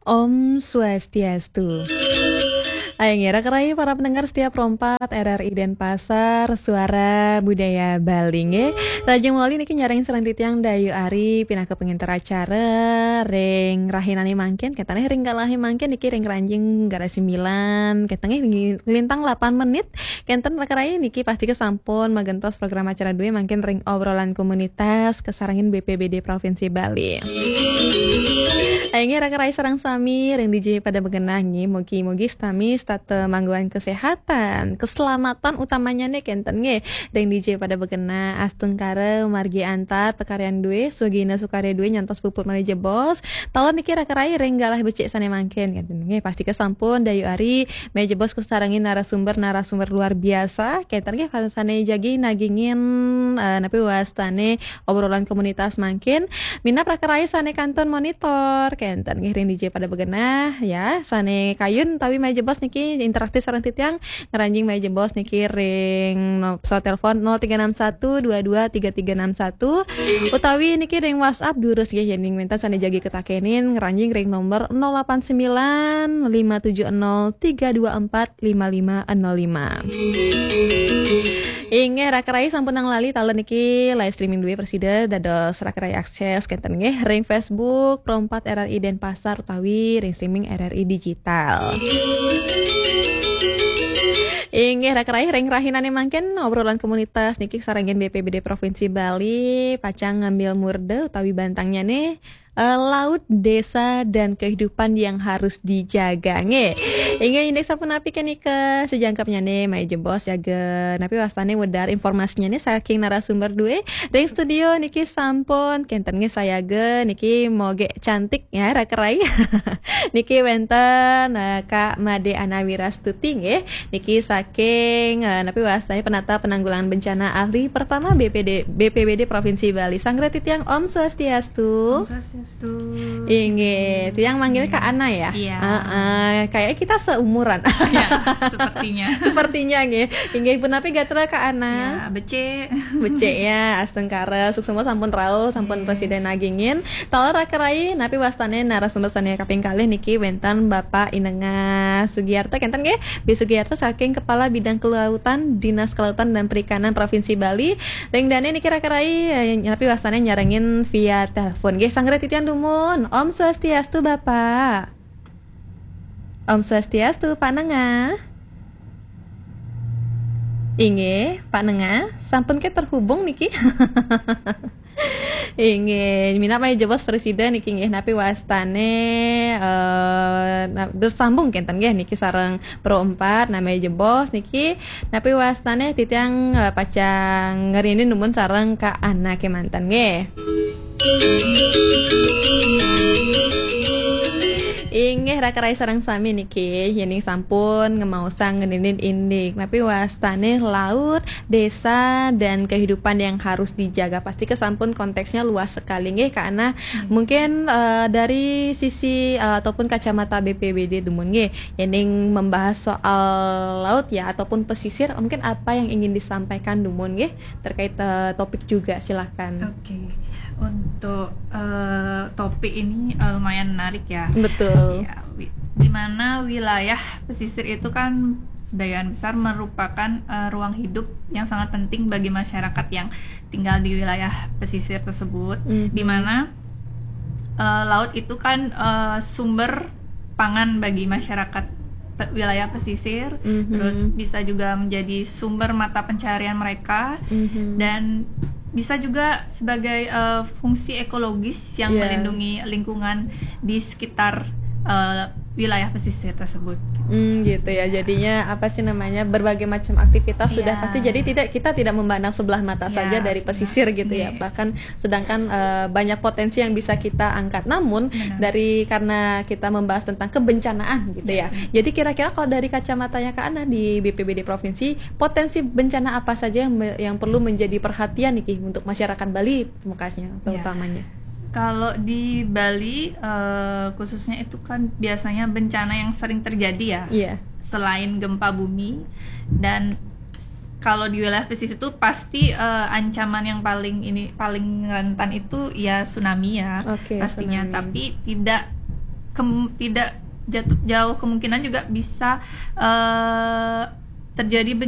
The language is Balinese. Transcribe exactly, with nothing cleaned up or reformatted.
Om Swastiastu. Ayo ngira kerai para pendengar setia Pro empat R R I Denpasar, Suara Budaya Bali nggih. Rajin wali niki nyarengin sareng titiang Dayu Ari pinaka penginter acara ring rahinane mangkin, ketane ring galahe mangkin niki ring ranjing garasi sembilan, ketane lintang delapan menit. Kenten rekerai niki pasti kesampun magentos program acara due mangkin ring obrolan komunitas kasarengin B P B D Provinsi Bali. Ayo nggih rekerai sareng sami ring D J pada begenah nggih, mugi-mugi sami setata mangguan kesehatan, keselamatan utamanya nih kenten nggih. Ring D J pada begenah Astungkara Margi Antar Pekaryan due, Swagina Sukarya due nyantos puput malih jebos. Taler niki rekerai ring galah becik sane mangkin kenten nggih. Pasti kesampun Dayu Ari malih jebos kasarengin narasumber-narasumber luar biasa. Kenten nggih sane jagi nagingin eh, napi wastane obrolan komunitas mangkin. Minab rekerai sane kantun monitor kenten nggih ring D J pada begenah ya. Sane kayun tawi malih jebos niki interaktif sareng titiang ngranjing malih jebos niki ring no, pesawat telepon nol tiga enam satu dua dua tiga tiga enam satu utawi niki ring WhatsApp durus nggih yening wenten sane jagi ketakenin ngranjing ring nomor nol delapan sembilan lima tujuh nol tiga dua empat lima lima nol lima. Inggih, rekerai sampun nang lali taler niki live streaming due prasida dados rekerai akses kenten nggih ring Facebook Pro empat R R I Denpasar utawi ring streaming R R I Digital. Inggih, rekerai ring rahinane mangkin obrolan komunitas niki sarengin B P B D Provinsi Bali pacang ngambil murda utawi bantangnyane eh, laut, desa, dan kehidupan yang harus dijaga. Nggih. Inggih indik sapunapi kenika sejangkepnyane malih jebos yaga napi wastane wedar informasinyane saking narasumber due. Ring studio niki sampun kenten nggih sayaga niki moge cantik ya rekerai. Niki wenten eh, Kak Made Anawira Stuti nggih. Niki saking eh, napi wastane penata penanggulangan bencana ahli pertama B P D, B P B D Provinsi Bali. Sanggra titiang Om Swastiastu. Om Swastiastu. Inggih, tiang manggil Kak Ana ya. Iya. Heeh, kayaknya kita seumuran. Ya, sepertinya. Sepertinya nggih. Inggih punapi gatra Kak Ana. Ya, becik. Becik ya, astungkara, suksma sampun rauh, sampun Iya. Presiden nagingin. Taler rekerai, napi wastane narasumber sane kaping kalih niki wenten Bapak Inengah Sugiarto kenten nggih. B Sugiarto saking Kepala Bidang Kelautan, Dinas Kelautan dan Perikanan Provinsi Bali. Ring dane niki rekerai, eh, napi wastane nyarengin via telepon. Nggih, sanggra titiang dumun. Om Swastiastu, Bapak. Om Swastiastu, Pak Nengah. Inggih, Pak Nengah, sampun ke terhubung niki. Inggih, minab malih jebos Presiden niki nggih napi wastane eh na- bersambung kenten nggih niki sareng Pro empat nami jebos niki napi wastane titiang eh, pacang ngerini dumun sareng Kak Ana kemanten nggih. Inggih rekerai sareng sami niki yening sampun ngemaosang ngeninin indik napi wastane laut, desa dan kehidupan yang harus dijaga. Pasti kesampun konteksnya luas sekali nggih Kak Ana. Mungkin eh, dari sisi eh, ataupun kacamata B P B D dumun nggih yening membahas soal laut ya ataupun pesisir mungkin apa yang ingin disampaikan dumun nggih terkait eh, topik juga silakan. Oke. Untuk eh, topik ini eh, lumayan menarik ya. Betul. Ya, wi- di mana wilayah pesisir itu kan sebagian besar merupakan eh, ruang hidup yang sangat penting bagi masyarakat yang tinggal di wilayah pesisir tersebut. Mhm. Di mana eh, laut itu kan eh, sumber pangan bagi masyarakat pe- wilayah pesisir, Mhm. terus bisa juga menjadi sumber mata pencarian mereka, Mhm. dan bisa juga sebagai eh, fungsi ekologis yang Iya. melindungi lingkungan di sekitar eh, wilayah pesisir tersebut. Hmm, gitu ya. Jadinya apa sih namanya berbagai macam aktivitas sudah Iya. pasti. Jadi tidak kita tidak memandang sebelah mata Iya, saja dari sudah. Pesisir gitu ya. Iya. Bahkan sedangkan eh, banyak potensi yang bisa kita angkat. Namun Benar. dari karena kita membahas tentang kebencanaan gitu ya. Iya. Jadi kira-kira kalau dari kacamatanya Kak Ana di B P B D provinsi, potensi bencana apa saja yang me- yang perlu menjadi perhatian nih Ki, untuk masyarakat Bali makanya Iya. terutamanya. Kalau di Bali eh, khususnya itu kan biasanya bencana yang sering terjadi ya. Iya. Selain gempa bumi dan kalau di wilayah pesisir itu pasti eh, ancaman yang paling ini paling rentan itu ya tsunami ya Oke, pastinya, tsunami. Tapi tidak kem- tidak jatuh jauh kemungkinan juga bisa eh, terjadi